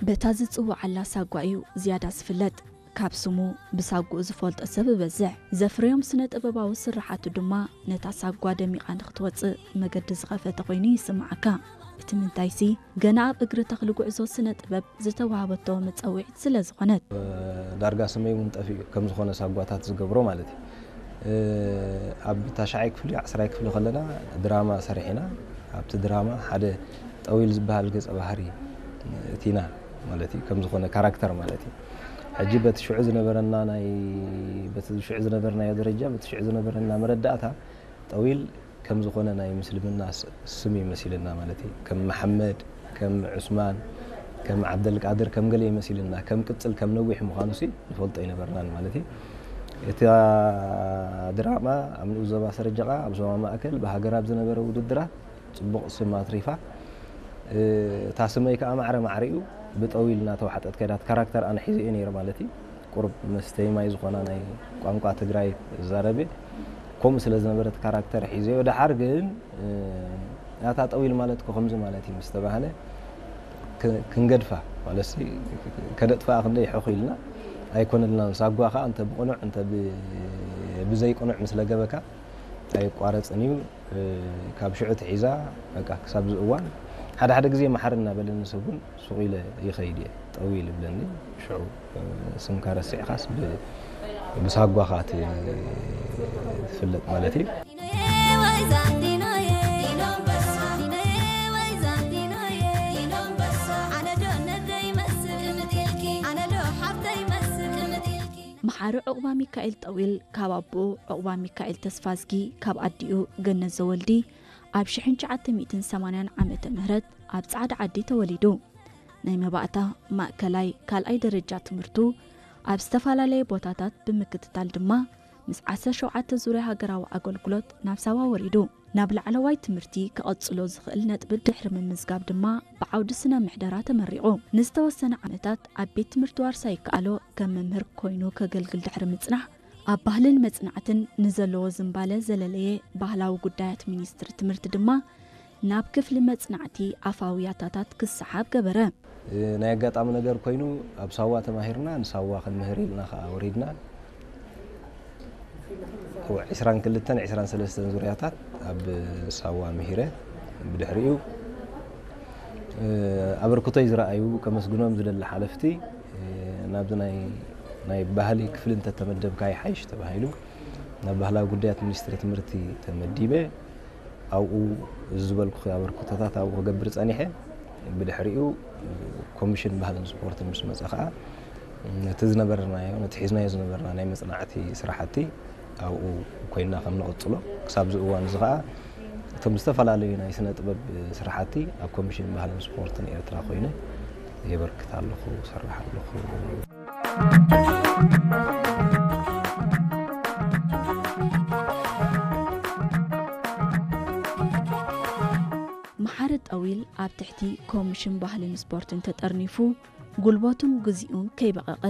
በታ ዝጽውዓላ ሳጓ እዩ ዝያዳ ዝፍለጥ። ካብ ስሙ ብሳጉኡ ዝፈልጦ ሰብ ይበዝሕ። ዘፍረዮም ስነ ጥበባዊ ስርሓቱ ድማ ነታ ሳጓ ደሚቓ ንክትወጽእ መገዲ ዝኸፈተ ኮይኑ ይስምዓካ። እቲ ምንታይሲ፣ ገና ኣብ እግሪ ተኽሊ ጉዕዞ ስነ ጥበብ ዝተዋህበቶ መጸውዒት ስለ ዝኾነት። ዳርጋ ስመይ እውን ጠፊኡ ከም ዝኾነ ሳጓታት ዝገብሮ ማለት እዩ። ኣብ ታሽዓይ ክፍሊ፣ ዓስራይ ክፍሊ ከለና ድራማ ሰሪሕና። ኣብቲ ድራማ ሓደ ጠዊል ዝበሃል ገጸ ባህሪ እቲና ማለት እዩ፣ ከም ዝኾነ ካራክተር ማለት እዩ። ሕጂ በቲ ሽዑ ዝነበረና ናይ፣ በቲ ሽዑ ዝነበርናዮ ደረጃ፣ በቲ ሽዑ ዝነበረና መረዳእታ፣ ጠዊል ከም ዝኾነ ናይ ምስልምና ስ-፣ ስም ይመሲልና ማለት እዩ። ከም መሓመድ፣ ከም ዑስማን፣ ከም ዓብደልቃድር፣ ከም ገለ ይመሲልና። ከም ቅጽል፣ ከም ነዊሕ ምዃኑ ሲ ንፈልጦ ኣይነበርናን ማለት እዩ። እታ ድራማ ኣብ ንኡስ ዞባ ሰረጀቓ፣ ኣብ ዞባ ማእከል፣ ብሃገር ኣብ ዝነበረ ውድድራት ጽቡቕ ስም ኣትሪፋ። እ፣ እታ ስመይ ከኣ ማዕረ ማዕሪኡ ብጠዊል እናተዋሕጠት ከይዳ። እቲ ካራክተር ኣነ ሒዘዮ ነይረ ማለት እዩ። ቁሩብ መስተይ ማይ ዝኾና ናይ ቋንቋ ትግራይ እዛረብ እየ። ከምኡ ስለ ዝነበረት ካራክተር ሒዘዮ። ደሓር ግን፣ እ፣ ኣታ ጠዊል ማለት እኮ ከምዚ ማለት እዩ ምስ ተባህለ፣ ክ-፣ ክንገድፋ ማለት ሲ፣ ከነጥፍኣ ክንደይ ሕኹ ኢልና ኣይኮነልናን። ሳጓ ከኣ እንተ ብቕኑዕ፣ እንተ ብ-፣ ብዘይቅኑዕ ምስ ለገበካ ኣይቋረጽን እዩ። እ፣ ካብ ሽዑ ትሒዛ፣ በቃ፣ ክሳብ እዚ እዋን ሓደ ሓደ ግዜ መሓር እናበለኒ ሰብ እውን ሱቕ ኢለ ይኸይድ እየ። ጠዊል ይብለኒ። ሽዑ፣ እ፣ ስምካ ረሲዕካስ ብ-፣ ብሳጓኻ ት-፣ ትፍለጥ ማለት እዩ። መሓሪ ዑቕባ ሚካኤል ጠዊል ካብ ኣቦኡ ዑቕባ ሚካኤል ተስፋዝጊ፣ ካብ ኣዲኡ ገነት ዘወልዲ፣ ኣብ ሽሕን ትሽዓተ ሚእትን ሰማንያን ዓመተ ምህረት ኣብ ጻዕዳ ዓዲ ተወሊዱ። ናይ መባእታ፣ ማእከላይ፣ ካልኣይ ደረጃ ትምህርቱ ኣብ ዝተፈላለየ ቦታታት ብምክትታል ድማ፣ ምስ ዓሰርተ ሸውዓተ ዙርያ ሃገራዊ ኣገልግሎት ናብ ሳዋ ወሪዱ። ናብ ላዕለዋይ ትምህርቲ ክቐጽሎ ዝኽእል ነጥቢ ድሕሪ ምምዝጋብ ድማ፣ ብዓውዲ ስነ ምሕደራ ተመሪቑ። ንዝተወሰነ ዓመታት ኣብ ቤት ትምህርቲ ዋርሳይ ይከኣሎ ከም መምህር ኮይኑ ከገልግል ድሕሪ ምጽናሕ፣ ኣብ ባህልን መጽናዕትን ንዘለዎ ዝንባለ ዘለለየ፣ ባህላዊ ጉዳያት ሚኒስትሪ ትምህርቲ ድማ ናብ ክፍሊ መጽናዕቲ ኣፋዊ ያታታት ክሰሓብ ገበረ። ናይ ኣጋጣሚ ነገር ኮይኑ፣ ኣብ ሳዋ ተማሂርና፣ ንሳዋ ክንምህር ኢልና ከኣ ወሪድና። ዒስራን ክልተን ዒስራን ሰለስተን ዙርያታት ኣብ ሳዋ ምሂረ። ብድሕሪኡ፣ እ፣ ኣበርክቶይ ዝረኣዩ፣ ከመስግኖም ዝደሊ ሓለፍቲ፣ እ፣ ናብዚ ናይ፣ ናይ ባህሊ ክፍሊ እንተተመደብካ ይሓይሽ ተባሂሉ፣ ናብ ባህላዊ ጉዳያት ሚኒስትሪ ትምህርቲ ተመዲበ። ኣብኡ እዚ ዝበልኩ ኣበርክቶታት ኣብኡ ክገብር ጸኒሐ። ብድሕሪኡ ኮሚሽን ባህልን ስፖርትን ምስ መጸ ኸኣ፣ ነቲ ዝነበርናዮ፣ ነቲ ሒዝናዮ ዝነበርና ናይ መጽናዕቲ ስራሕቲ ኣብኡ ኮይንና ከም ንቕጽሎ፣ ክሳብ እዚ እዋን እዚ ኸኣ እቶም ዝተፈላለዩ ናይ ስነ ጥበብ ስራሕቲ ኣብ ኮሚሽን ባህልን ስፖርትን ኤርትራ ኮይነ የበርክት ኣለኹ፣ እሰርሕ ኣለኹ። መሓሪ ጠዊል ኣብ ትሕቲ ኮሚሽን ባህልን ስፖርትን ተጠርኒፉ፣ ጉልበቱን ግዚኡን ከይበቐቐ